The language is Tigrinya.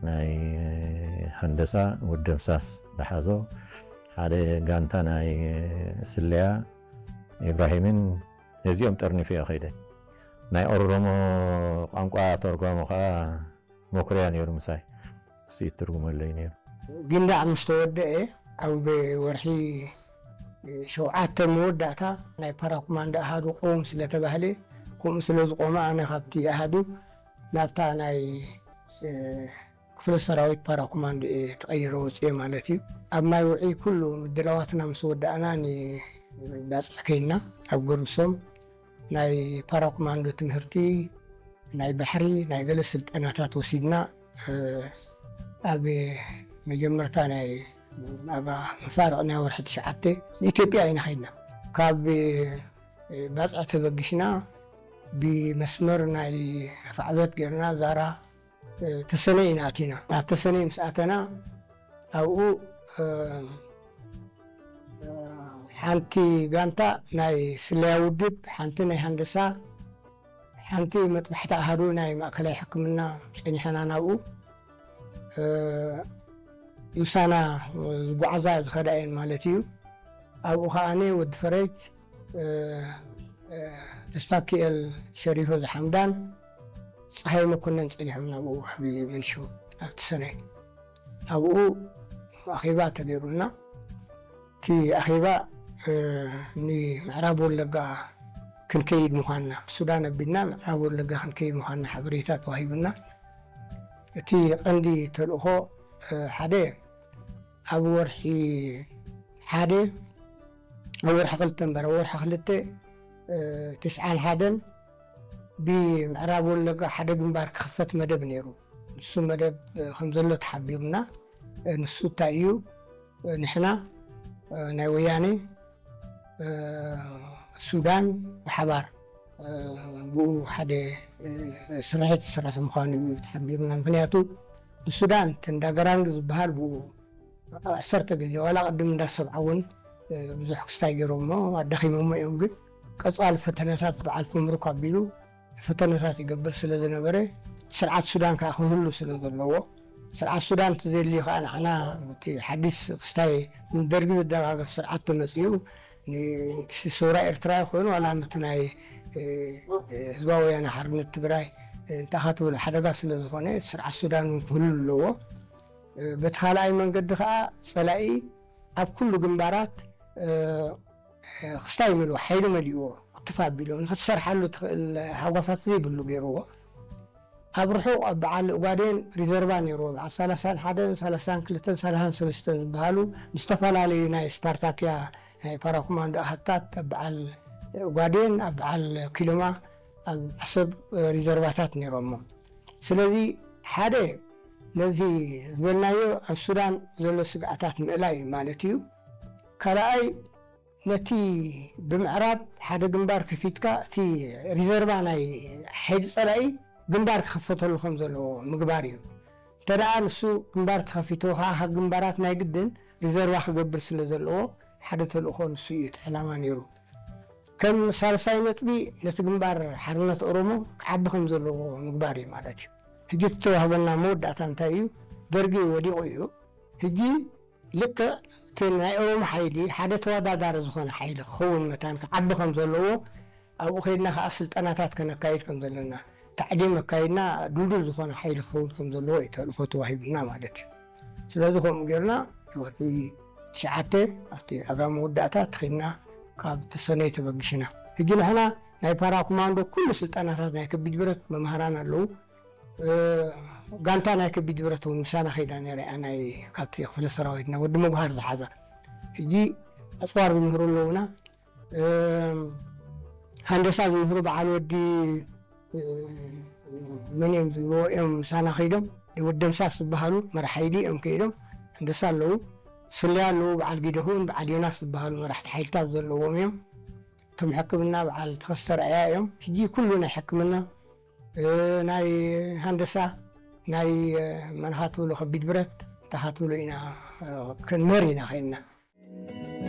ናይ ሃንደሳ ወዲ ደምሳስ ዝሓዞ ሓደ ጋንታ ናይ ስለያ ኢብራሂምን ነዚኦም ጠርኒፉ እየ ከይደ። ናይ ኦሮሞ ቋንቋ ተርጓሚ ከዓ መኩርያ ነይሩ ምሳይ። እሱ ይትርጉመለይ ነይሩ። ግንዳዕ ምስ ተወደአ ኣብ ወርሒ ሸውዓተ መወዳእታ ናይ ፓራኮማንዶ ኣሃዱ ቆም ስለተባህለ፣ ከምኡ ስለ ዝቆመ ኣነ ካብቲ ኣሃዱ ናብታ ናይ ክፍለ ሰራዊት ፓራኮማንዶ እየ ተቐይረ ወፅየ ማለት እዩ። ኣብ ማይ ውዒ ኩሉ ምድላዋትና ምስ ወዳእና ንባፅዕ ከይና ኣብ ገርሶም ናይ ፓራኮማንዶ ትምህርቲ ናይ ባሕሪ ናይ ገለ ስልጠናታት ወሲድና። ኣብ መጀመርታ ናይ ኣብ መፋርቕ ናይ ወርሒ ትሽዓተ ንኢትዮጵያ ኢና ኸይድና። ካብ ባፅዕ ተበጊስና ብመስመር ናይ ኣፍዓበት ጌርና ዛራ ተሰነይ ኢና ኣቲና። ናብ ተሰነይ ምስ ኣተና ኣብኡ ሓንቲ ጋንታ ናይ ስለያ ውድብ፣ ሓንቲ ናይ ሃንደሳ፣ ሓንቲ መጥባሕቲ ኣሃዱ ናይ ማእከላይ ሕክምና ጸኒሐና ናብኡ ምሳና ዝጓዓዛ ዝኸዳ እየን ማለት እዩ። ኣብኡ ከዓኒ ወዲ ፈረጅ፣ ተስፋኪኤል ሸሪፎ ዝሓምዳን ፀሃይ መኮነን ፀኒሖም ናብኡ ዓቢ መንሽው ኣብቲ ሰነ ኣብኡ ኣኼባ ተገይሩልና። እቲ ኣኼባ ንምዕራብ ወለጋ ክንከይድ ምዃንና፣ ሱዳን ኣቢልና ምዕራብ ወለጋ ክንከይድ ምዃንና ሓበሬታ ተዋሂቡና። እቲ ቀንዲ ተልእኾ ሓደ ኣብ ወርሒ ሓደ ኣብ ወርሒ ክልተ እምበር ኣብ ወርሒ ክልተ ትስዓን ሓደን ብምዕራብ ወለጋ ሓደ ግንባር ክኽፈት መደብ ነይሩ። ንሱ መደብ ከም ዘሎ ተሓቢሩና። ንሱ እንታይ እዩ? ንሕና ናይ ወያነ ሱዳን ብሓባር ብኡ ሓደ ስርሒት ዝስራሕ ምዃኑ እዩ ተሓቢሩና። ምክንያቱ ብሱዳን ተንዳገራንግ ዝበሃል ብኡ ዓሰርተ ግዜ ዋላ ቅድም እንዳሰብዓ እውን ብዙሕ ክስታይ ገይሮሞ ኣዳኺሞሞ እዮም። ግን ቀፃሊ ፈተነታት በዓል ኩምሩክ ኣቢሉ ፈተነታት ይገብር ስለ ዝነበረ ስርዓት ሱዳን ከዓ ክህሉ ስለ ዘለዎ ስርዓት ሱዳን ተዘድልዩ ከዓ ንዓና እቲ ሓዲስ ክስታይ ንደርጊ ዝደጋገፍ ስርዓት ተመፅኡ ንሰውራ ኤርትራ ኮይኑ ዋላ ነቲ ናይ ህዝባዊ ወያነ ሓርነት ትግራይ እንታይ ትብሉ ሓደጋ ስለ ዝኾነ ስርዓት ሱዳን ክህሉ ኣለዎ። በቲ ካልኣይ መንገዲ ከዓ ፀላኢ ኣብ ኩሉ ግንባራት ክስታይ መልዎ ሓይሊ መሊእዎ ክትፍ ኣቢሎ ንክትሰርሓሉ ትኽእል ሃጓፋት ዘይብሉ ገይርዎ። ኣብ ርሑቕ ኣብ በዓል ኡጋዴን ሪዘርቫ ነይርዎ። በዓል ሰላሳን ሓደን ሰላሳን ክልተን ሰላሳን ሰለስተን ዝበሃሉ ዝተፈላለዩ ናይ ስፓርታኪያ ናይ ፓራኮማንዶ ኣሃታት ኣብ በዓል ኡጋዴን ኣብ በዓል ኪሎማ ኣብ ዓሰብ ሪዘርቫታት ነይሮሞ። ስለዚ ሓደ ነዚ ዝበልናዮ ኣብ ሱዳን ዘሎ ስግኣታት ምእላይ እዩ ማለት እዩ። ካልኣይ ነቲ ብምዕራብ ሓደ ግንባር ከፊትካ እቲ ሪዘርቫ ናይ ሓይሊ ፀላኢ ግንባር ክኽፈተሉ ከም ዘለዎ ምግባር እዩ። እንተ ደኣ ንሱ ግንባር ተኸፊቱ ከዓ ካብ ግንባራት ናይ ግድን ሪዘርቫ ክገብር ስለ ዘለዎ ሓደ ተልእኾ ንሱ እዩ እቲ ዕላማ ነይሩ። ከም ሳልሳይ ነጥቢ ነቲ ግንባር ሓርነት ኦሮሞ ክዓቢ ከም ዘለዎ ምግባር እዩ ማለት እዩ። ሕጂ እቲ ተዋህበና መወዳእታ እንታይ እዩ? ደርጊ ወዲቑ እዩ። ሕጂ ልክዕ እቲ ናይ ኦሮሞ ሓይሊ ሓደ ተወዳዳሪ ዝኾነ ሓይሊ ክኸውን መታን ክዓቢ ከም ዘለዎ ኣብኡ ከይድና ከዓ ስልጠናታት ከነካይድ ከም ዘለና ታዕሊም ኣካይድና ድልዱል ዝኾነ ሓይሊ ክኸውን ከም ዘለዎ እዩ ተልእኮ ተዋሂቡና ማለት እዩ። ስለዚ ከምኡ ጌርና ወርሒ ትሽዓተ ኣብቲ ኣጋ መወዳእታ ተኺድና ካብ ተሰነይ ተበግሽና። ሕጂ ንሕና ናይ ፓራ ኮማንዶ ኩሉ ስልጠናታት ናይ ከቢድ ብረት መምሃራን ኣለዉ። ጋንታ ናይ ከቢድ ብረት እውን ምሳና ከይዳ ነይራ እያ። ናይ ካብቲ ክፍለ ሰራዊትና ወዲ መጉሃር ዝሓዛ ሕጂ ኣፅዋር ዝምህሩ ኣለውና። ሃንደሳ ዝምህሩ በዓል ወዲ መን እዮም ዝብልዎ እዮም ምሳና ከይዶም ወዲ ደምሳስ ዝበሃሉ መራሕ ሓይሊ እዮም ከይዶም። ሃንደሳ ኣለዉ፣ ስልያ ኣለዉ፣ በዓል ጊደሁን በዓል ዮናስ ዝበሃሉ መራሕቲ ሓይልታት ዘለዎም እዮም። እቶም ሕክምና በዓል ተኸስተ ረኣያ እዮም። ሕጂ ኩሉ ናይ ሕክምና ናይ ሃንደሳ ናይ መን ኻትብሎ ከቢድ ብረት እንታይ ኻትብሎ ኢና ክንመር ኢና ኸይንና።